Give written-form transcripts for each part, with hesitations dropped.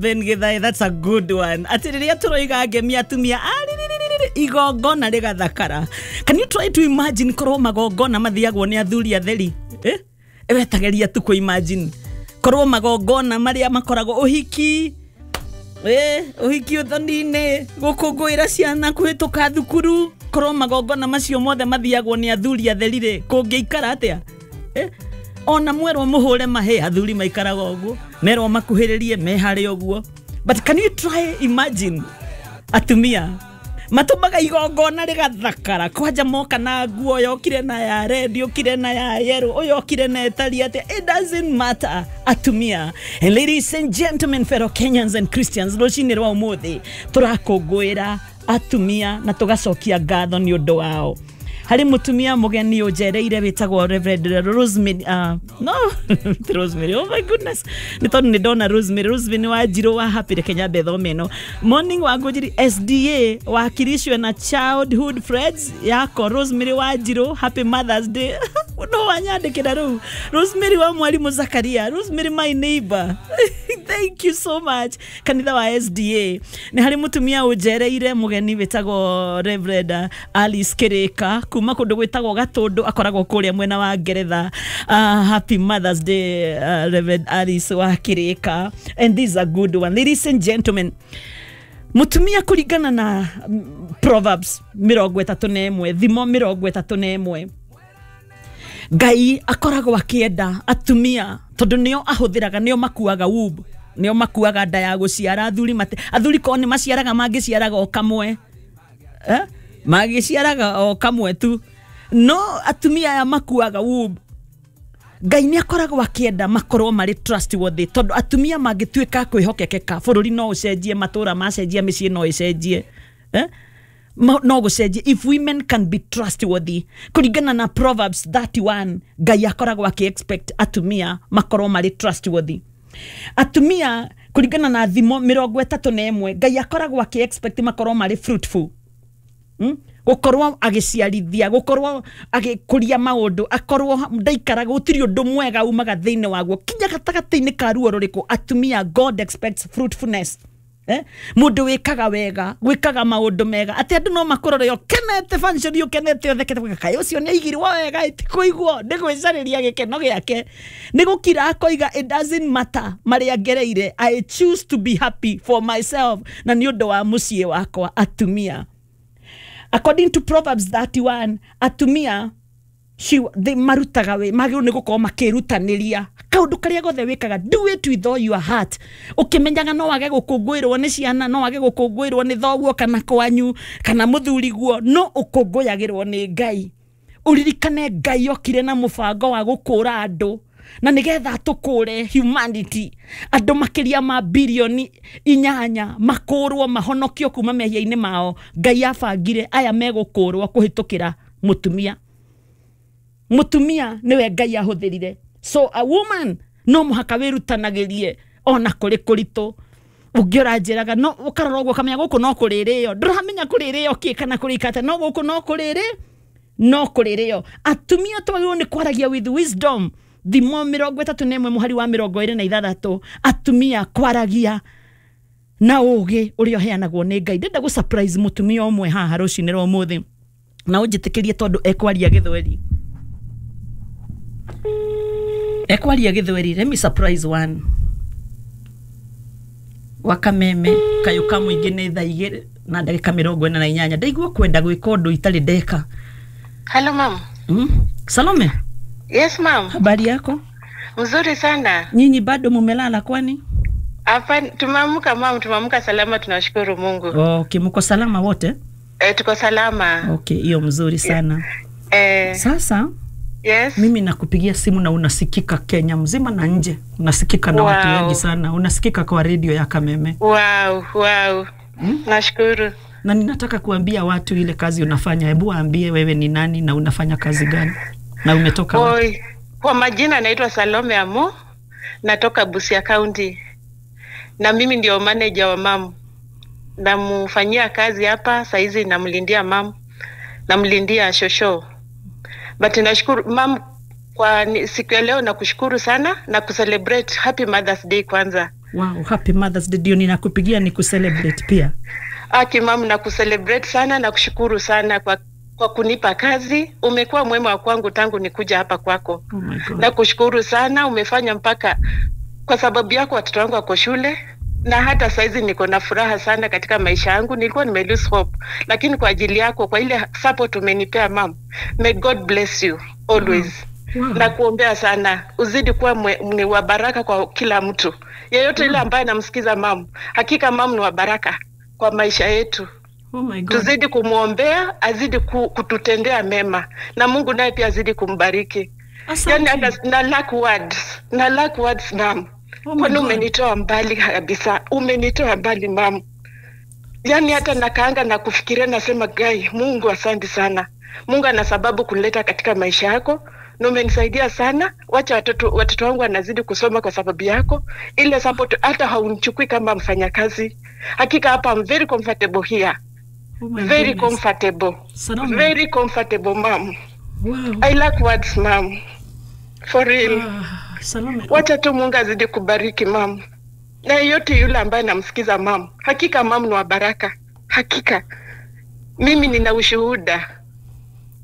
Ben Githae, that's a good one. Atĩ rĩrĩa tũroiga ngemi atumia arĩrĩrĩrĩ igongona rĩgathakara. Can you try to imagine korwo magongona mathiagwo nĩ athuri atheri? Eh? Wetageria tu kũ imagine. Korwo magongona marĩa makoragwo ũhiki, ũhiki ũthoni-inĩ, gũkũngũĩra ciana kũhĩtũka thukuru, korwo magongona macio mothe mathiagwo nĩ athuri atheri rĩ, kũngĩikara atĩa? Eh? Ona mwerwo mũhũre mahĩ, athuri maikaraga ũguo, merwo makuhĩrĩrie me harĩ ũguo. But can you try imagine atumia matũmaga igongona rĩgathakara, kwanja moka na nguo yokire na ya red, yokire na ya yellow, ũyũ okire na ĩtariĩ atĩa, it doesn't matter. Atumia. And ladies and gentlemen, fellow Kenyans and Christians, rũcinĩ rwa ũmũthĩ tũrakũngũĩra atumia na tũgacokia ngatho nĩ ũndũ wao. Harĩ mũtumia mũgeni ũnjereire wĩtagwo Reverend Rosemary, no Rosemary, oh my goodness, nĩ tondũ nĩ ndona Rosemary. Rosemary Wanjirũ wa Happy, reke nyambe thome ĩno. Morning Wangũnjiri SDA wakilishwe na childhood friends yako Rosemary Wanjirũ, happy Mother's Day. No wanyandĩkĩra rĩu Rosemary wa mwarimũ Zakaria, Rosemary my neighbor. Thank you so much, kanitha wa SDA. Nĩ harĩ mũtumia ũnjereire mũgeni wĩtagwo Reverend Alice Kirika kuma kũndũ gwĩtagwo Gatũndũ, akoragwo kũrĩa mwena wa Ngeretha. Happy Mother's Day, Reverend Alice wa Kirika. And this is a good one, ladies and gentlemen. Mutumia kũringana na Proverbs 31, thimo 31, Ngai akoragwo akĩenda atumia tondũ nĩo ahũthĩraga, nĩo makuaga womb, nĩo makuaga nda ya gũciara. Athuri mate, athuri korwo nĩ maciaraga mangĩciaraga o kamwe, eh? Mangĩciaraga o kamwe tu, no atumia aya makuaga womb. Ngai nĩ akoragwo akĩenda makorwo marĩ trustworthy, tondũ atumia mangĩtuĩka kwĩhokekeka, bũrũri no ũcenjie, matũra macenjia, mĩciĩ no ĩcenjie, eh? No gũcenjie if women can be trustworthy. Kũringana na Proverbs 31, Ngai akoragwo akĩ expect atumia makorwo marĩ trustworthy. Atumia kũringana na thimo 31, Ngai akoragwo akĩ expect makorwo marĩ fruitful. Gũkorwo agĩciarithia, gũkorwo agĩkũria maũndũ, akorwo ndaikaraga, gũtirĩ ũndũ mwega umaga thĩinĩ waguo kinya gatagatĩ-inĩ ka ruo rũrĩkũ. Atumia, God expects fruitfulness. Eh? Mũndũ wĩkaga wega, gwĩkaga maũndũ mega, atĩ andũ no makũrore ũkenete function, ũkenete ũthekete, kaĩ ũcio nĩ aigirwo wega, ĩtikũigwo nĩ gwĩcarĩria gĩkeno gĩake, nĩ gũkira akoiga it doesn't matter marĩa ngereire, I choose to be happy for myself na nĩ ũndũ wa mũciĩ wakwa. Atumia, according to Proverbs 31, atumia they marutaga wĩ magĩrĩirwo nĩ gũkorwo makĩrutanĩria kaũndũ karĩa gothe wĩkaga, do it with all your heart, ũkĩmenyaga no wage gũkũngũĩrwo nĩ ciana, no wage gũkũngũĩrwo nĩ thoguo kana kwanyu kana mũthuriguo, no ũkũngũyagĩrwo nĩ Ngai. Ũririkane Ngai okire na mũbango wa gũkũra andũ, na nĩgetha tũkũre humanity, andũ makĩria ma 8 bilioni makũrwo, mahonokio kuma mehia-inĩ mao. Ngai abangire aya megũkũrwo kũhĩtũkĩra mũtumia. Mũtumia nĩwe Ngai ahũthĩrire. So a woman no mũhaka wĩrutanagĩrie ona kũrĩ kũritũ. Ũngĩ ũranjĩraga no ũkarora ũguo ũkamenya gũkũ no kũrĩrĩo, ndũramenya kũrĩrĩo kĩ kana kũrĩkate, no gũkũ no kũrĩrĩ, no kũrĩrĩo. Atumia twagĩrĩirwo nĩ kwaragia with wisdom. Thimo 31 mũhari wa 26, atumia kwaragia na ũgĩ ũrĩa ũheanagwo nĩ Ngai. Ndenda gũ surprise mũtumia ũmwe haha rũcinĩ rwa ũmũthĩ, na ũnjĩtĩkĩrie tondũ ekwaria gĩthweri, ekwaria gĩthweri. Let me surprise one wa Kameme kayũ ka mũingĩ. Nĩ thaa 2:48. Ndaigua kwenda gwĩka ũndũ itarĩ ndeka. Hello, ma'am. Salome. Yes, ma'am. Habari yako? Mzuri sana. Nyinyi bado mumelala kwani? Hapa tumeamka, ma'am, tumeamka salama, tunashukuru Mungu. Okay, mko salama wote? E, tuko salama. Okay, hiyo mzuri sana. Eh, sasa yes. Mimi nakupigia simu na unasikika Kenya mzima na nje, unasikika na watu wengi sana, unasikika kwa redio ya Kameme. Wow. Nashukuru. Na ninataka kuambia watu ile kazi unafanya. Hebu waambie wewe ni nani na unafanya kazi gani na umetoka wapi? Oi, kwa majina naitwa Salome Amo, natoka Busia County. Na mimi ndio manager wa mam. Namfanyia kazi hapa saizi, namlindia mam, namlindia shosho. But nashukuru, mam, kwa siku ya leo nakushukuru sana na kucelebrate happy Mother's Day kwanza. Wow, happy Mother's Day. Ndio ninakupigia ni kucelebrate pia. Aki mam, na kucelebrate sana na kushukuru sana kwa kunipa kazi. Umekuwa mwema wa kwangu tangu nikuja hapa kwako. Oh my God. Na kushukuru sana, umefanya mpaka kwa sababu yako watoto wangu wako shule na hata saizi niko na furaha sana katika maisha yangu. Nilikuwa nime lose hope, lakini kwa ajili yako, kwa ile support umenipea mam, may God bless you always. Wow. Na kuombea sana uzidi kuwa ni wa baraka kwa kila mtu yeyote ile ambaye anamsikiza mam. Hakika mam ni wa baraka kwa maisha yetu. Oh my God. Tuzidi kumwombea, azidi kututendea mema, na Mungu naye pia azidi kumbariki. Asante. Yani hata na lack words, na lack words mam. Oh my Kwani God. umenitoa mbali kabisa, umenitoa mbali mam. Yani hata nakaanga na kufikiria, nasema gai, Mungu asante sana. Mungu ana sababu kunileta katika maisha yako na umenisaidia sana. Wacha watoto wangu wanazidi kusoma kwa sababu yako. Ile support hata haunichukui kama mfanyakazi. Hakika hapa I'm very comfortable here. Oh my Very goodness. comfortable. Salome. Very comfortable ma'am. Wow. I lack words ma'am. For real. Salome. Wacha tu Mungu azidi kubariki mam, na yeyote yule ambaye namsikiza mam. Hakika mam ni wa baraka, hakika mimi nina ushuhuda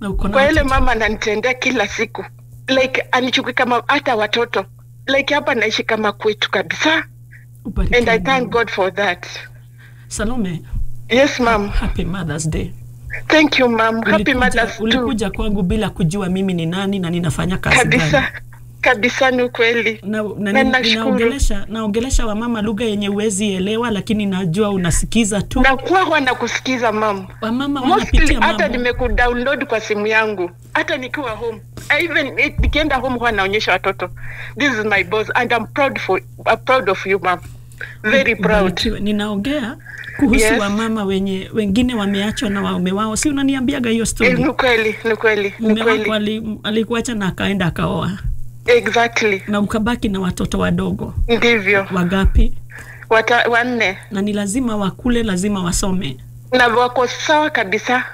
Na uko na kwa yale watoto. mama ananitendea kila siku, like anichukui kama hata watoto, like hapa naishi kama kwetu kabisa, Ubarikiwe and I thank Mungu. God for that. Salome, Yes mam, happy Mother's Day. thank you mam. Happy Mother's too. Ulikuja kwangu bila kujua mimi ni nani na ninafanya kazi gani. Kabisa kabisa, ni ukweli. Na, na, Na nashukuru. naongelesha wamama lugha yenye uwezi elewa, lakini najua unasikiza tu. Na kuwa huwa nakusikiza mam. Wamama Mostly wanapitia hata mambo. nimekudownload kwa simu yangu, hata nikiwa home. I even nikienda home huwa naonyesha watoto, this is my boss and I'm proud of you ma'am, very proud. Ubarikiwe. Ninaongea kuhusu Yes. wamama wenye wengine wameachwa na waume wao, si unaniambiaga hiyo story? Ni kweli, ni kweli, ni Mume wako kweli, alikuacha na akaenda akaoa exactly, na ukabaki na watoto wadogo ndivyo. wagapi? 4 Na ni lazima wakule, lazima wasome. na wako sawa kabisa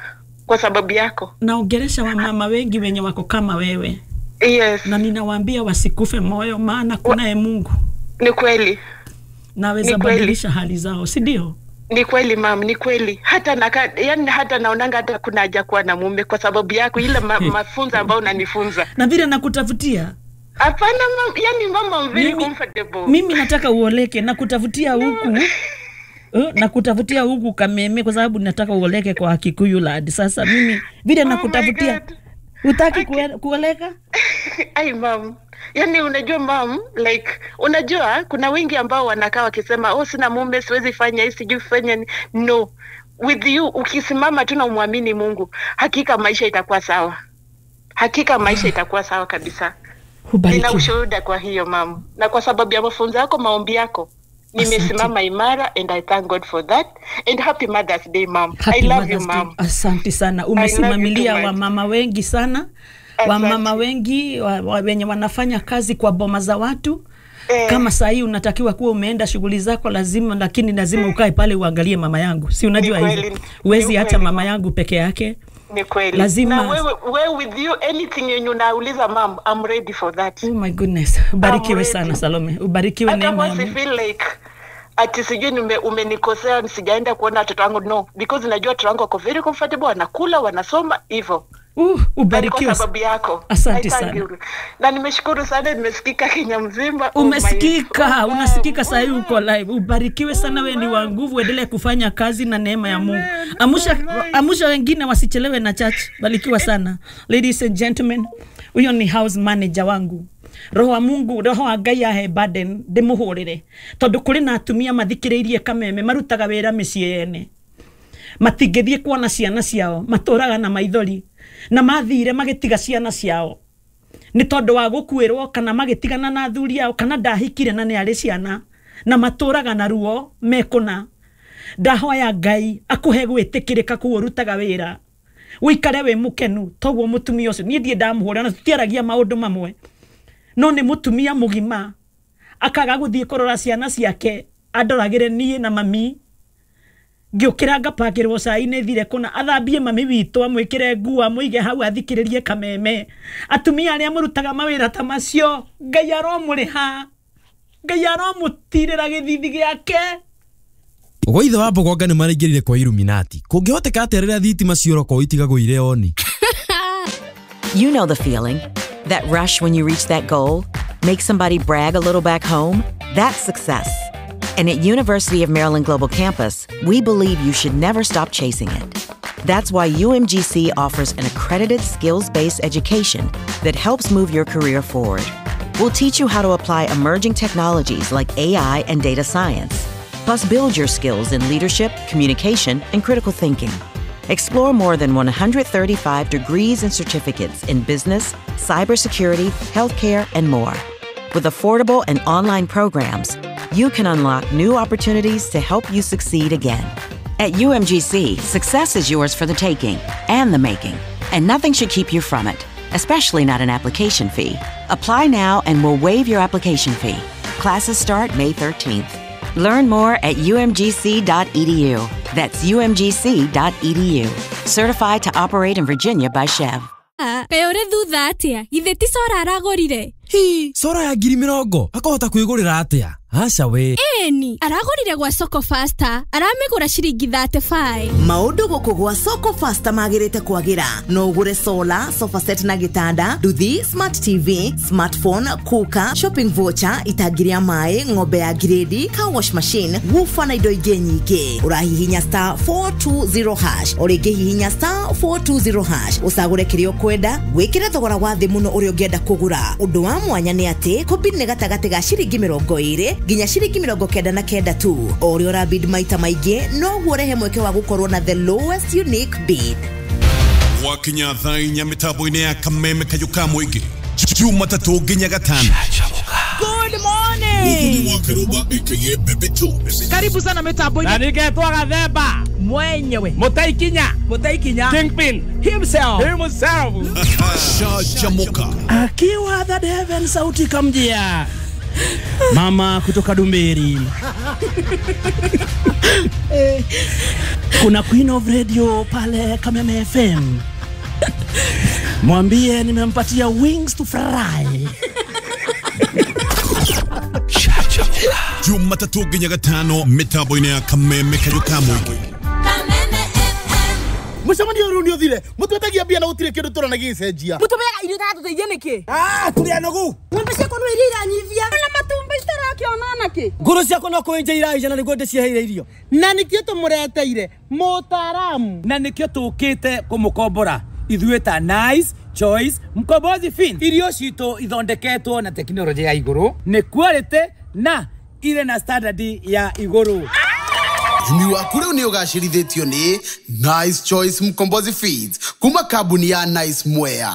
kwa sababu yako. Naongelesha wamama wengi wenye wako kama wewe, Yes, na ninawaambia wasikufe moyo, maana kunaye Mungu ni kweli, naweza Ni kweli. badilisha hali zao, si ndio? ni kweli mam, ni kweli. Hata yani hata naonanga hata kuna haja kuwa na mume kwa sababu yako, ile mafunzo ambayo unanifunza. Na vile nakutafutia Hapana mam, yani mama, I'm very comfortable. mimi nataka uoleke na kutafutia huku na kutafutia huku Kameme kwa sababu nataka uoleke kwa Kikuyu lad. Sasa mimi vile Oh my nakutafutia, God. utaki kuoleka? Ai mam, yani unajua mam, like unajua kuna wengi ambao wanakaa wakisema oh, sina mume, siwezi fanya hii, sijui fanya ni-" No, with you ukisimama tu na umwamini Mungu, hakika maisha itakuwa sawa, hakika maisha itakuwa sawa kabisa. Nina Ubarikiwe. ushuhuda kwa hiyo mam, na kwa sababu ya mafunzo yako, maombi yako, nimesimama imara and I thank God for that and happy Mother's Day mam. Happy I love you Mother's Day. mam. Asante sana, I love umesimamilia you too much. wamama wengi sana, Asante. wamama wengi wenye wanafanya kazi kwa boma za watu. Kama saa hii unatakiwa kuwa umeenda shughuli zako lazima, lakini lazima ukae pale uangalie mama yangu, si unajua Ni hivyo, kweli, huwezi ni acha kweli. mama yangu peke yake. Ni kweli. Lazima- Na wewe with you anything yenye unauliza mam, I'm ready for that. Oh my goodness, ubarikiwe ready. sana Salome, ubarikiwe Hata neema ya once I Mungu. feel like ati sijui umenikosea sijaenda kuona watoto wangu, no, because najua watoto wangu wako very comfortable, wanakula, wanasoma hivyo. Na ni kwa Ubarikiwe. sababu yako. Asante I thank sana. you. Na nimeshukuru sana, nimesikika Kenya mzima. Oh my- Umesikika, Oh, unasikika saa hii uko live. Ubarikiwe sana, wewe ni wa nguvu, endelee kufanya kazi na neema ya Mungu. Amusha wengine wasichelewe na church. Barikiwa sana. Ladies and gentlemen, huyo ni house manager wangu. Roho wa Mungu, roho wa Ngai ahe burden ndimuhurire tondu kuri na atumia mathikiriirie Kameme marutaga wira miciĩ yene matingĩthiĩ kuona ciana ciao, matũraga na maithori na mathire magĩtiga ciana ciao nĩ tondũ wa gũkuĩrwo kana magĩtigana na athuri ao kana ndahikire na nĩ arĩ ciana na matũraga na ruo mekũna. Ndahoya Ngai akũhe gwĩtĩkĩrĩka kũu ũrutaga wĩra, ũikare wĩ mũkenu toguo mũtumia ũcio niĩ ndirĩ ndamũhũra na tũtiaragia maũndũ mamwe, no nĩ mũtumia mũgima akaga gũthiĩ kũrora ciana ciake andoragĩre niĩ na mami ngĩũkĩra ngapakĩrwo cai nĩ thire kũna athambie mami witũ amwĩkĩre nguo amũige hau athikĩrĩrie Kameme. Atumia arĩa mũrutaga mawĩra ta macio Ngai aromũrĩha. Ngai aramũtirĩra gĩthithi gĩake. Gwa ithe wa Mbogonga nĩ maraingĩrire kwa Illuminati. Kũngĩhoteka atĩa rĩrĩa thitima ciora itigagwo irĩ oni? You know the feeling. That rush when you reach that goal, make somebody brag a little back home, that's success. And at University of Maryland Global Campus, we believe you should never stop chasing it. That's why UMGC offers an accredited skills-based education that helps move your career forward. We'll teach you how to apply emerging technologies like AI and data science, plus build your skills in leadership, communication, and critical thinking. Explore more than 135 degrees and certificates in business, cybersecurity, healthcare, and more. With affordable and online programs, you can unlock new opportunities to help you succeed again. At UMGC, success is yours for the taking and the making, and nothing should keep you from it, especially not an application fee. Apply now and we'll waive your application fee. Classes start May 13th. Learn more at umgc.edu. That's umgc.edu. Certified to operate in Virginia by Chev. Kaĩ ũrĩ thutha atĩa? Githĩ ti cora aragũrire? Hi, cora ya 20,000 akahota kwĩgũrĩra atĩa? Aca we. Ĩni, aragũrire gwa Soko Faster, aramĩgũra ciringi 35. Maũndũ gũkũ gwa Soko Faster magĩrĩte kwagĩra. No ũgũre solar, sofa set na gĩtanda, nduthi, smart TV, smartphone, cooker, shopping voucher, itangi rĩa maĩ, ng'ombe ya grade, car wash machine, woofer na indo ingĩ nyingĩ. Ũrahihinya star 420 hash, o rĩngĩ hihinya star 420 hash, ũcagũre kĩrĩa ũkwenda, wĩkĩre thogora wa thĩ mũno ũrĩa ũngĩenda kũgũra. Ũndũ wa mwanya nĩ atĩ kũbid nĩ gatagatĩ ga ciringi 20 nginya ciringi 99 tu. O ũrĩa ũrabid maita maingĩ noguo ũrehe mweke wa gũkorwo na the lowest unique bid. Wakinya thaa inya mĩtambo-inĩ ya Kameme Kayũ ka Mũingĩ Jumatatũ nginya Gatano. Good morning. Karibu sana mitambo-inĩ. Na ningetwo Gathemba mwenyewe Mũtaikinya Mũtaikinya Kingpin himself himself. Shajamoka akiwa the heaven sauti kamjia mama kutoka Dumberi. Kuna Queen of Radio pale Kameme FM. Mwambie nimempatia wings to fry. Jumatatũ nginya Gatano mĩtambo-inĩ ya Kameme Kayũ ka Mũingĩ. Mũcemanio ũyũ nĩ ũthire mũtwetagia mbia na gũtirĩ kĩndũ tũrona gĩgĩcenjia. Mũtũmeaga irio itatũteithia nĩkĩ? Tũrĩ anogu. Ng'ombe ciakwa no iria iranyivia na matumbĩ citarakĩona nakĩ. Ngũrũ ciakwa no kũenja iraija na nĩguo ndĩciheire irio. Na nĩkĩo tũmũreteire mũtaaramu. Na nĩkĩo tũkĩte kũmũkombora ithuĩ ta Nice Choice Mkombozi Fin. Irio citũ ithondeketwo na tekinoronjĩ ya igũrũ, nĩ quality na irĩ na standard ya igũrũ. Ũrĩmi waku rĩu nĩ ũgacĩrithĩtio nĩ Nice Choice Mkombozi Feeds kuma kambuni ya Nice Mwea.